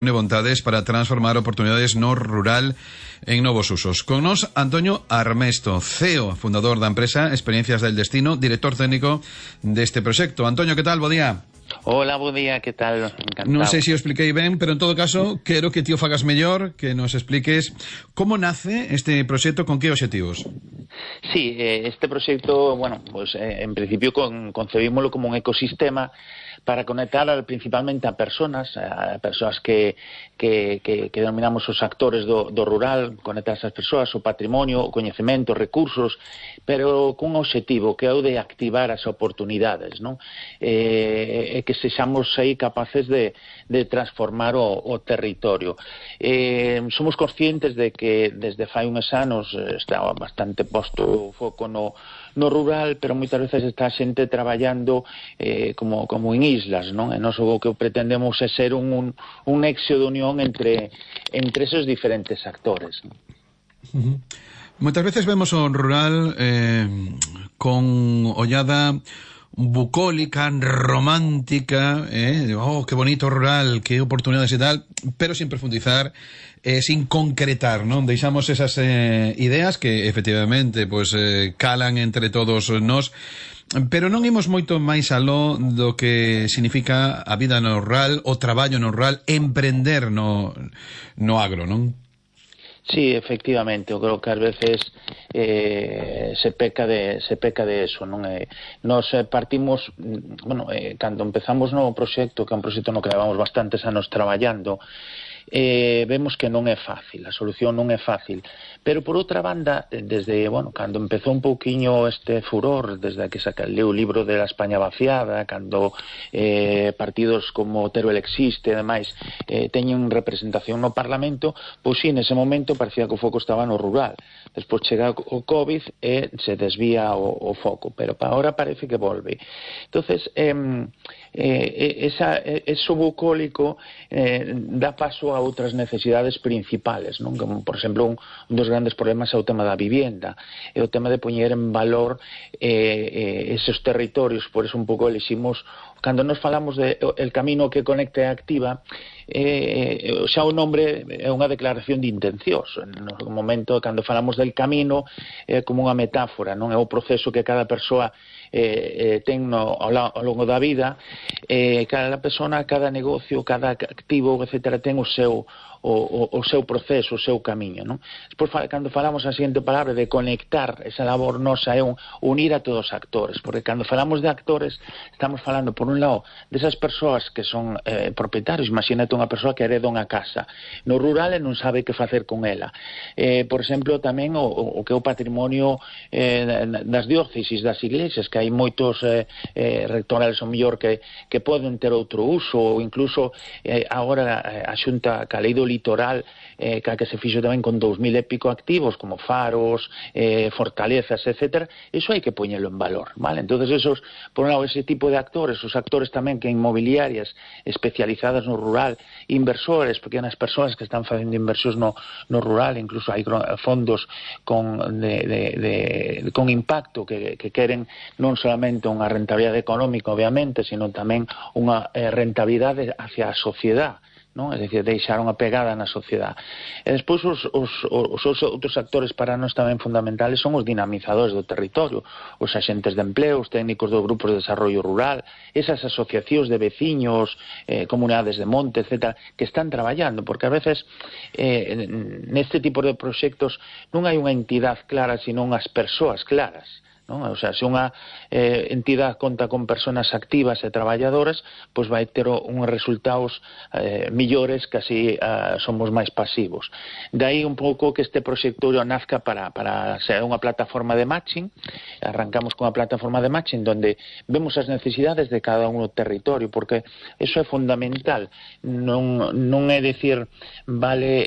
Une vontades para transformar oportunidades no rural en novos usos. Con nos, Antonio Armesto, CEO, fundador da empresa Experiencias del Destino, director técnico deste proxecto. Antonio, que tal? Bo día. Hola, bo día, que tal? Encantado. Non sei se o expliquei ben, pero en todo caso, quero que ti o fagas mellor, que nos expliques como nace este proxecto, con que obxectivos. Sí, este proxecto, bueno, pues en principio concebímoslo como un ecosistema para conectar principalmente a persoas que denominamos os actores do rural, conectar esas persoas, o patrimonio, o coñecemento, recursos, pero cun obxectivo que é o de activar as oportunidades, non? E que sexamos aí capaces de transformar o territorio. Somos conscientes de que desde fai uns anos está bastante posto o foco no rural, pero moitas veces está a xente traballando como en islas, non? E nós o que pretendemos é ser un nexo de unión entre esos diferentes actores, non? Moitas veces vemos o rural con ollada bucólica, romántica, que bonito rural, que oportunidades e tal, pero sin profundizar, sin concretar, non? Deixamos esas ideas que efectivamente pues, calan entre todos nós, pero non imos moito máis aló do que significa a vida no rural, o traballo no rural, emprender no agro, non? Sí, efectivamente, eu creo que ás veces se peca de eso, non? Nos partimos, cando empezamos no proxecto, que é un proxecto no que levamos bastantes anos traballando, vemos que non é fácil, a solución non é fácil, pero por outra banda, desde, cando empezou un pouquiño este furor, desde que leu o libro de la España vaciada, cando partidos como Teruel existe e demais teñen representación no Parlamento, pois sí, nese momento parecía que o foco estaba no rural. Despois chega o COVID e se desvía o foco, pero para ahora parece que volve. Entonces, eso bucólico dá paso a outras necesidades principales, non? Como, por exemplo, un dos grandes problemas é o tema da vivienda, é o tema de poñer en valor esos territorios. Por eso un pouco eliximos, cando nos falamos de el camino que conecta e activa, xa o nombre é unha declaración de intencións. No momento, cando falamos del camino, é como unha metáfora, non? É o proceso que cada persoa ten ao longo da vida, cada persona, cada negocio, cada activo, etcétera, ten o seu proceso, o seu camiño, non? Despois, cando falamos a seguinte palabra de conectar, esa labor nosa é unir a todos os actores, porque cando falamos de actores estamos falando, por un lado, desas persoas que son propietarios. Imagínate unha persoa que hereda unha casa no rural e non sabe que facer con ela. Por exemplo, tamén o que é o patrimonio das diócesis, das iglesias, que hai moitos rectorales ao mellor que poden ter outro uso, ou incluso agora a Xunta, ca lei do litoral, que se fixo tamén con 2000 e pico activos, como faros, fortalezas, etcétera, iso hai que poñelo en valor, vale? Entonces, esos, por un lado, ese tipo de actores, os actores tamén que inmobiliarias especializadas no rural, inversores, pequenas persoas que están facendo inversións no rural, incluso hai fondos con impacto que queren non solamente unha rentabilidade económica, obviamente, sino tamén unha rentabilidade hacia a sociedade, non? É dicir, deixar unha pegada na sociedade. E despois os outros actores para nós tamén fundamentales son os dinamizadores do territorio, os axentes de empleo, os técnicos dos grupos de desarrollo rural, esas asociacións de veciños, comunidades de monte, etc., que están traballando, porque a veces neste tipo de proxectos non hai unha entidade clara, sino unhas persoas claras, non? O sea, se unha entidade conta con persoas activas e traballadoras, pois vai ter uns resultados millores que así somos máis pasivos. Daí un pouco que este proxecto nazca para ser unha plataforma de matching. Arrancamos con unha plataforma de matching donde vemos as necesidades de cada un territorio, porque eso é fundamental. Non é dicir, vale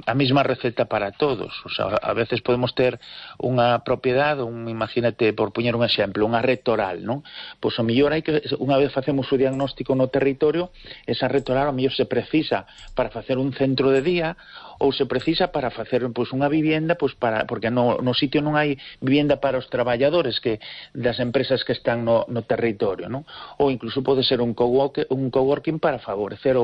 a mesma receta para todos. O sea, a veces podemos ter unha propiedade, imagínate, por poñer un exemplo, unha rectoral, non? Pois o mellor hai que, unha vez facemos o diagnóstico no territorio, esa rectoral o mellor se precisa para facer un centro de día, ou se precisa para facer pois unha vivienda, pois porque no sitio non hai vivienda para os traballadores das empresas que están no territorio, non? Ou incluso pode ser un coworking para favorecer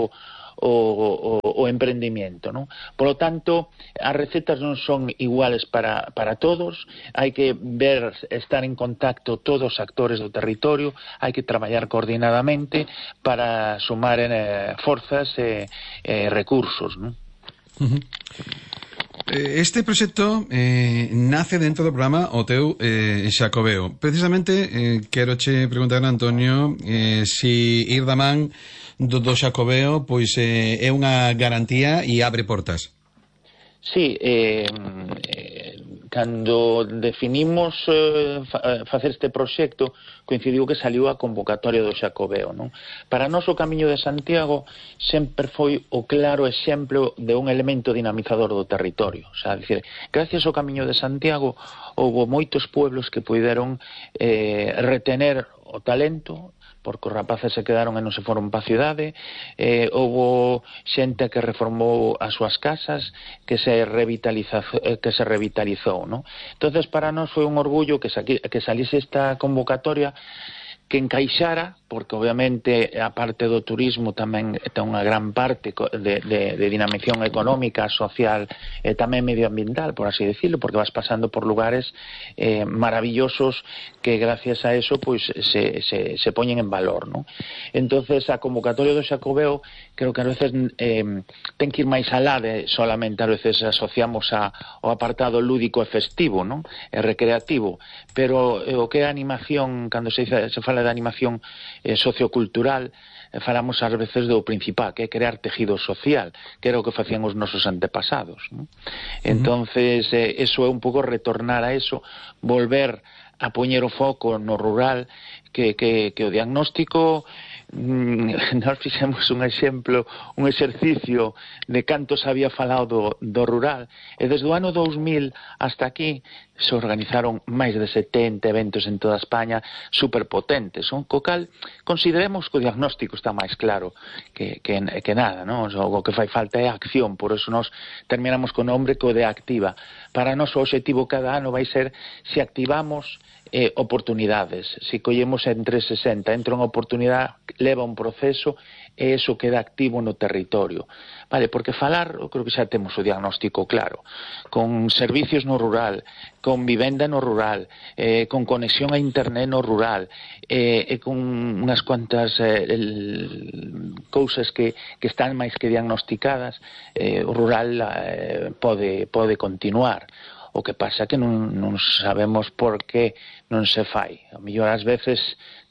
o emprendimiento, non? Por lo tanto, as recetas non son iguales para todos, hai que ver, estar en contacto todos os actores do territorio, hai que traballar coordinadamente para sumar forzas e recursos, non? Este proxecto nace dentro do programa O Teu Xacobeo. Precisamente quero che preguntar, Antonio, si ir da man do Xacobeo pois é unha garantía e abre portas. Sí, cando definimos facer este proxecto, coincidiu que saliu a convocatoria do Xacobeo, non? Para nós o Camiño de Santiago sempre foi o claro exemplo de un elemento dinamizador do territorio. O sea, decir, gracias ao Camiño de Santiago houve moitos pueblos que puideron retener o talento, porque os rapaces se quedaron e non se foron pa cidade, houve xente que reformou as súas casas, que se revitalizou, non? Entonces, para nós foi un orgullo que salise esta convocatoria, que encaixara, porque obviamente a parte do turismo tamén ten unha gran parte de dinamización económica, social e tamén medioambiental, por así decirlo, porque vas pasando por lugares maravillosos que gracias a eso pois se poñen en valor, non? Entonces a convocatoria do Xacobeo creo que a veces ten que ir máis alá de solamente a veces asociamos ao apartado lúdico e festivo, non? E recreativo, pero o que é a animación, cando se fala de animación sociocultural, falamos ás veces do principal, que é crear tejido social, que era o que facían os nosos antepasados, non? Entonces eso é un pouco retornar a eso, volver a poñer o foco no rural, que o diagnóstico, nós fixemos un exemplo, un exercicio de canto se había falado do rural, e desde o ano 2000 hasta aquí se organizaron máis de 70 eventos en toda España superpotentes, co cal consideremos que o diagnóstico está máis claro que nada, non? O que fai falta é a acción, por eso nos terminamos con o nombre que o de activa. Para nós o objetivo cada ano vai ser se activamos oportunidades, se collemos en 360, entra unha oportunidade, leva un proceso e eso queda activo no territorio, vale? Porque falar, eu creo que xa temos o diagnóstico claro, con servicios no rural, con vivenda no rural, con conexión a internet no rural, e con unhas cuantas cousas que están máis que diagnosticadas, o rural pode continuar. O que pasa que non sabemos por que non se fai. A mellor ás veces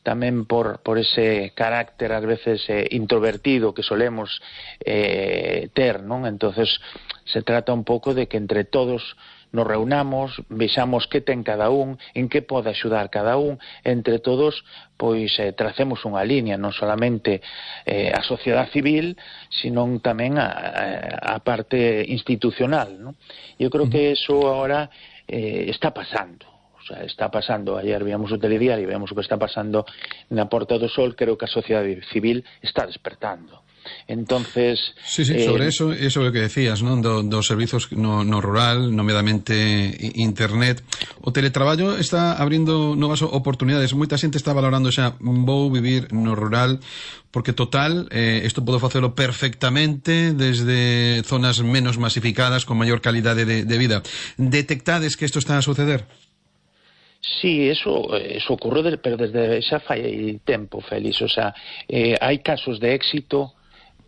tamén por ese carácter ás veces introvertido que solemos ter, non? Entonces se trata un pouco de que entre todos nos reunamos, vexamos que ten cada un, en que pode axudar cada un, entre todos pois tracemos unha línea, non solamente a sociedade civil, senón tamén a parte institucional, non? Eu creo que eso agora está pasando. O sea, está pasando, ayer víamos o telediario e vemos o que está pasando na Porta do Sol, creo que a sociedade civil está despertando. Entonces sí, sobre eso é o que decías, non? Dos servizos no rural, nomeadamente internet. O teletraballo está abrindo novas oportunidades. Moita xente está valorando xa, vou vivir no rural, porque total, isto podo facelo perfectamente desde zonas menos masificadas, con maior calidade de vida. Detectades que isto está a suceder? Sí, eso ocurre, pero desde xa fai tempo, Félix. O sea, hai casos de éxito,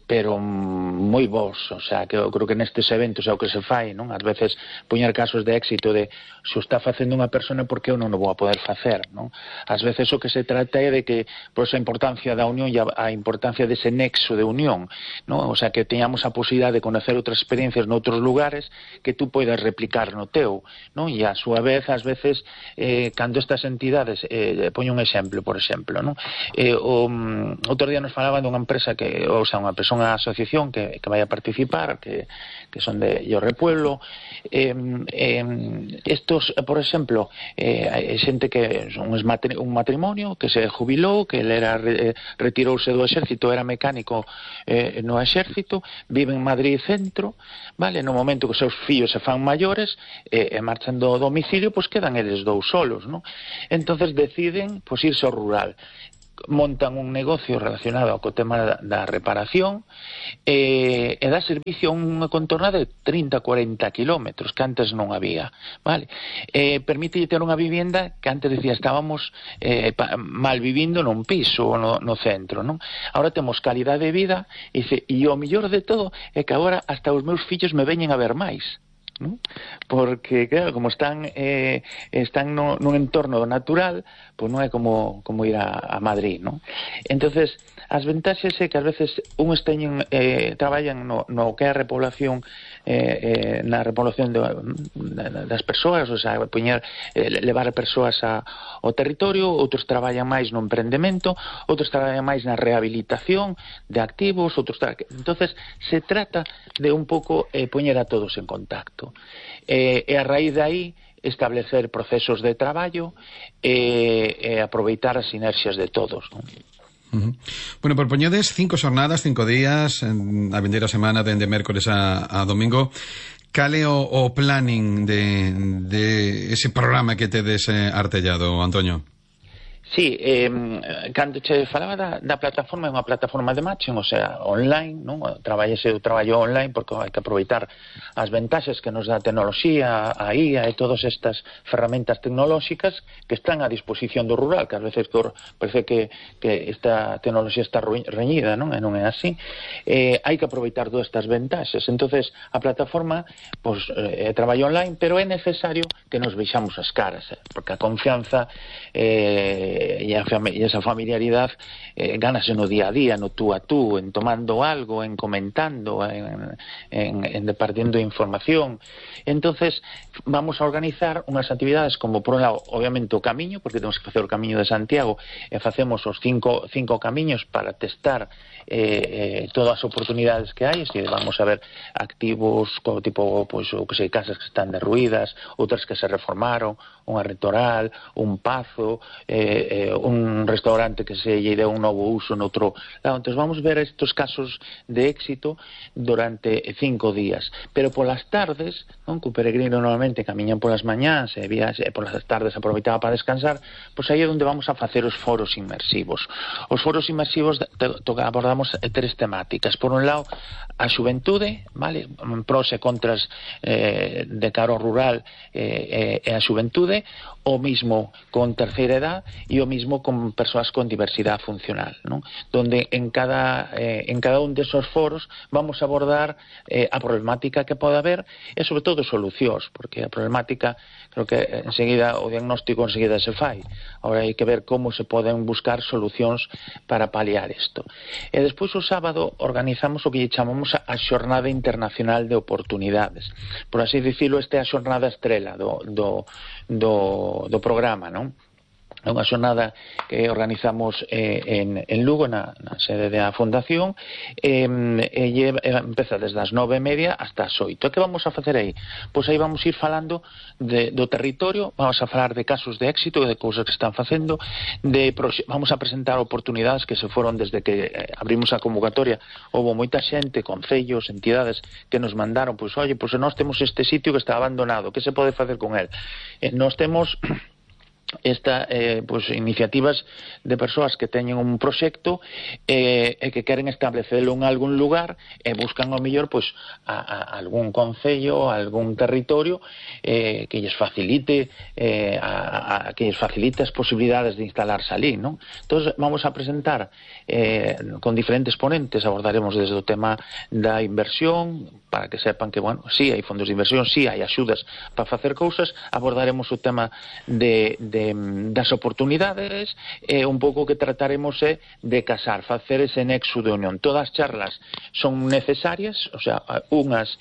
pero moi bons, o sea, que eu creo que nestes eventos é o que se fai, non? Ás veces poñer casos de éxito de se o está facendo unha persona, porque eu non o vou a poder facer, non? Ás veces o que se trata é de que, por esa importancia da unión e a importancia dese nexo de unión, non? O sea, que teñamos a posibilidade de conocer outras experiencias noutros lugares que tú poidas replicar no teu, non? E a súa vez, ás veces, cando estas entidades, poño un exemplo, por exemplo, non? Outro día nos falaban dunha empresa que, ou sea, unha persona, unha asociación que vai a participar, que son de Llorre Pueblo. Estos, por exemplo, xente que son un matrimonio que se jubilou, que ele retirouse do exército, era mecánico no exército, vive en Madrid centro, vale? No momento que os seus fillos se fan maiores e marchan do domicilio, pois quedan eles dous solos, non? Entonces deciden pois irse ao rural. montan un negocio relacionado co tema da reparación e dá servicio a unha contorna de 30-40 kilómetros que antes non había, vale? Permite ter unha vivienda que antes decía estábamos mal vivindo nun piso no centro, non? Ahora temos calidade de vida e o mellor de todo é que agora hasta os meus fillos me veñen a ver máis, ¿no? Porque claro, como están nun entorno natural, pois non é como ir a Madrid, ¿no? Entonces as ventaxes é que ás veces uns traballan no que é a repoblación, na repoblación das persoas, o sea, levar a persoas ao territorio, outros traballan máis no emprendemento, outros traballan máis na rehabilitación de activos, entonces se trata de un pouco poñer a todos en contacto e a raíz de aí establecer procesos de traballo e aproveitar as sinerxias de todos, non? Bueno, propoñedes 5 xornadas, 5 días, a vindeira semana dende mércores a domingo. Cal é o planning de ese programa que tedes artellado, Antonio? Sí, cando che falaba da plataforma, é unha plataforma de matching, o sea, online, non? Traballo online porque hai que aproveitar as ventaxes que nos dá a tecnoloxía, a IA e todas estas ferramentas tecnolóxicas que están a disposición do rural, que ás veces parece que esta tecnoloxía está reñida, non? E non é así. Hai que aproveitar todas estas ventaxes. Entonces, a plataforma é traballo online, pero é necesario que nos veixamos as caras, porque a confianza e esa familiaridade gánase no día a día, no tú a tú, en tomando algo, en comentando, en departiendo información. Entonces vamos a organizar unhas actividades como, por un lado, obviamente o camiño, porque temos que facer o camiño de Santiago e facemos os cinco camiños para testar todas as oportunidades que hai. Vamos a ver activos como tipo, pois, o que sei, casas que están derruídas, outras que se reformaron, unha retoral, un pazo, un restaurante que se lle deu un novo uso noutro lado. Entón vamos ver estos casos de éxito durante 5 días, pero polas tardes, non, que o peregrino normalmente camiñan polas mañás e polas tardes aproveitaba para descansar, pois aí é onde vamos a facer os foros inmersivos. Os foros inmersivos abordamos 3 temáticas. Por un lado, a xuventude, vale, pros e contras de cara ao rural e a xuventude, o mismo con terceira edad e o mismo con persoas con diversidade funcional, non? Donde en cada un desos foros vamos a abordar a problemática que pode haber e sobre todo solucións, porque a problemática creo que enseguida o diagnóstico enseguida se fai. Ahora hai que ver como se poden buscar solucións para paliar isto. E despois o sábado organizamos o que chamamos a Xornada Internacional de Oportunidades. Por así dicilo, esta é a xornada estrela do programa, non? É unha xornada que organizamos en Lugo, na sede da Fundación, e empeza desde as 9:30 hasta as 8. Que vamos a facer aí? Pois aí vamos ir falando do territorio, vamos a falar de casos de éxito, de cousas que están facendo, vamos a presentar oportunidades que se foron desde que abrimos a convocatoria. Houve moita xente, concellos, entidades que nos mandaron, pois, oye, pois nós temos este sitio que está abandonado, que se pode facer con el? Nós temos iniciativas de persoas que teñen un proxecto e que queren establecelo en algún lugar e buscan ao mellor a algún concello, a algún territorio que lles facilite as posibilidades de instalarse ali, non? Entón vamos a presentar con diferentes ponentes, abordaremos desde o tema da inversión, para que sepan que, bueno, sí hai fondos de inversión, sí hai axudas para facer cousas, abordaremos o tema das oportunidades e un pouco que trataremos de casar, facer ese nexo de unión. Todas as charlas son necesarias, o sea, unhas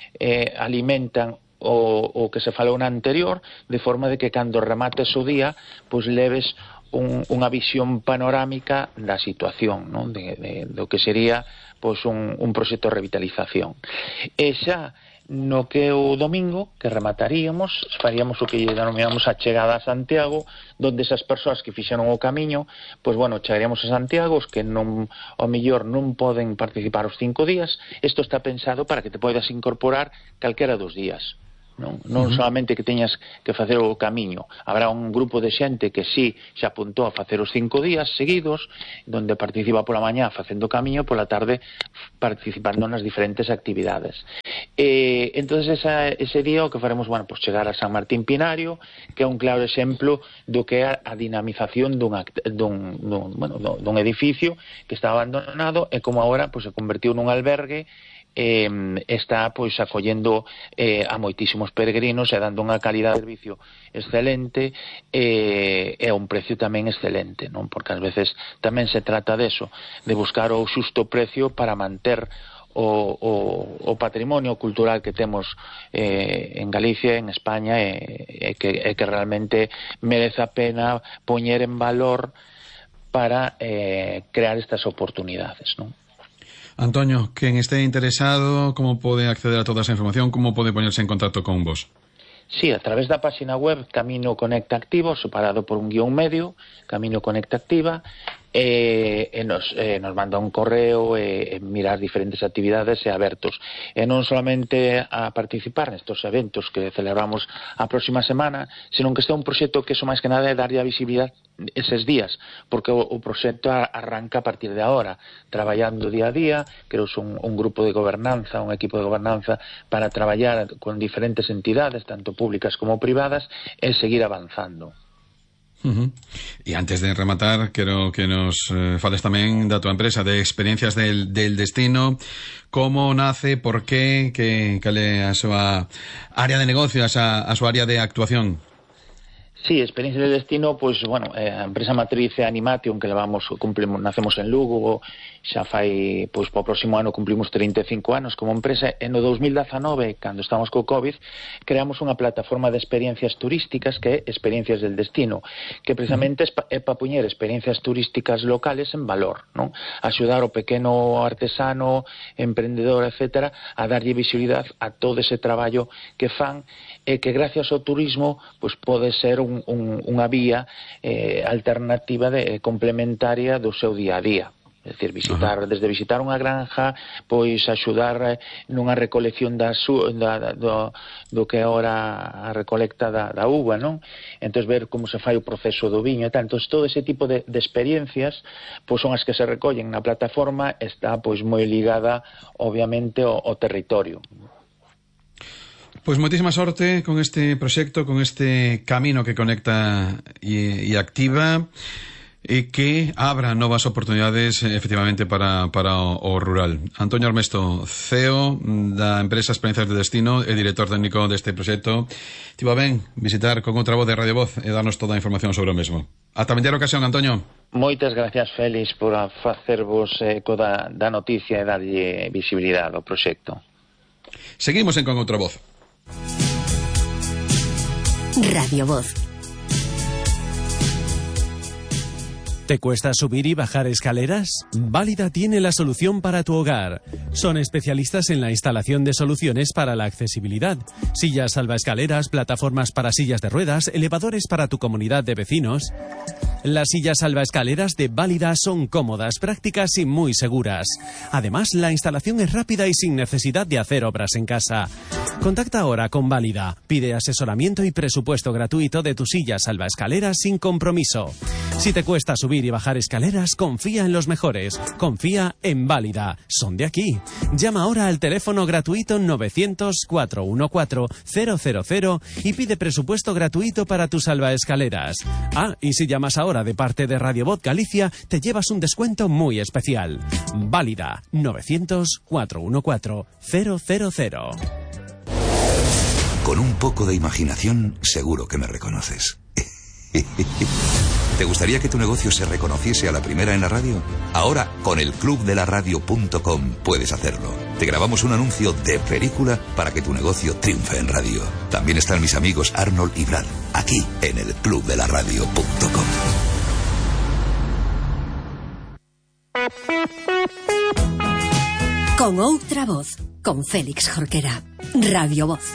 alimentan o que se falou na anterior, de forma de que cando remates o día, pois leves unha visión panorámica da situación, non? Do que sería pois un proxecto de revitalización. E xa no que o domingo, que remataríamos, faríamos o que denominamos a chegada a Santiago, donde esas persoas que fixeron o camiño, pois bueno, chegaríamos a Santiago, os que ao mellor non poden participar os 5 días. Isto está pensado para que te podas incorporar calquera dos días. non solamente que teñas que facer o camiño. Habrá un grupo de xente que sí se apuntou a facer os 5 días seguidos, donde participa pola mañá facendo camiño, pola tarde participando nas diferentes actividades. Entonces ese día o que faremos, pues chegar a San Martín Pinario, que é un claro exemplo do que é a dinamización dun edificio que está abandonado e como agora se convertiu nun albergue. Está acollendo a moitísimos peregrinos e dando unha calidad de servicio excelente e a un precio tamén excelente, non? Porque ás veces tamén se trata deso, de buscar o xusto precio para manter o patrimonio cultural que temos en Galicia, en España, e que realmente merece a pena poñer en valor para crear estas oportunidades, non? Antonio, quen esté interesado, como pode acceder a toda esa información, como pode poñerse en contacto con vos? Sí, a través da página web Camino Conecta Activo, separado por un guión medio, Camino Conecta Activa, nos manda un correo e mirar diferentes actividades e abertos. E non solamente a participar nestes eventos que celebramos a próxima semana, senón que este é un proxecto que máis que nada é darlle a visibilidade eses días, porque o proxecto arranca a partir de agora, traballando día a día, creouse un grupo de gobernanza, un equipo de gobernanza para traballar con diferentes entidades, tanto públicas como privadas, e seguir avanzando. E antes de rematar, quero que nos fales tamén da tua empresa, de Experiencias del Destino, como nace, por qué, cal é a súa área de negocio, a súa área de actuación. Sí, Experiencias del Destino, a empresa matriz é Animation, que nacemos en Lugo, xa fai, para o próximo ano cumplimos 35 anos como empresa, e no 2019, cando estamos co COVID, creamos unha plataforma de experiencias turísticas que é Experiencias del Destino, que precisamente é para poñer experiencias turísticas locales en valor, non? Axudar o pequeno artesano, emprendedor, etcétera, a darlle visibilidade a todo ese traballo que fan, e que gracias ao turismo pode ser unha vía alternativa complementaria do seu día a día. É dicir, desde visitar unha granja, axudar nunha recolección do que é ahora a recolecta da uva, non? Entón ver como se fai o proceso do viño e tal. Entón todo ese tipo de experiencias son as que se recollen na plataforma, está moi ligada obviamente ao territorio. Pois moitísima sorte con este proxecto, con este camino que conecta e activa, e que abra novas oportunidades efectivamente para o rural. Antonio Armesto, CEO da empresa Experiencias de Destino e director técnico deste proxecto, tivo ben visitar con outra voz de Radio Voz e darnos toda a información sobre o mesmo. Ata vendera ocasión, Antonio. Moitas gracias, Félix, por facervos eco da noticia e darlle visibilidade ao proxecto. Seguimos en Con Outra Voz. Radio Voz. ¿Te cuesta subir y bajar escaleras? Válida tiene la solución para tu hogar. Son especialistas en la instalación de soluciones para la accesibilidad. Sillas salvaescaleras, plataformas para sillas de ruedas, elevadores para tu comunidad de vecinos. Las sillas salvaescaleras de Válida son cómodas, prácticas y muy seguras. Además, la instalación es rápida y sin necesidad de hacer obras en casa. Contacta ahora con Válida. Pide asesoramiento y presupuesto gratuito de tu silla salvaescaleras sin compromiso. Si te cuesta subir y bajar escaleras, confía en los mejores. Confía en Válida. Son de aquí. Llama ahora al teléfono gratuito 900-414-000 y pide presupuesto gratuito para tus salvaescaleras. Y si llamas ahora de parte de Radio Voz Galicia, te llevas un descuento muy especial. Válida. 900-414-000. Con un poco de imaginación, seguro que me reconoces. ¿Te gustaría que tu negocio se reconociese a la primera en la radio? Ahora, con el clubdelaradio.com puedes hacerlo. Te grabamos un anuncio de película para que tu negocio triunfe en radio. También están mis amigos Arnold y Brad, aquí en el clubdelaradio.com. Con Outra Voz, con Félix Jorquera. Radio Voz.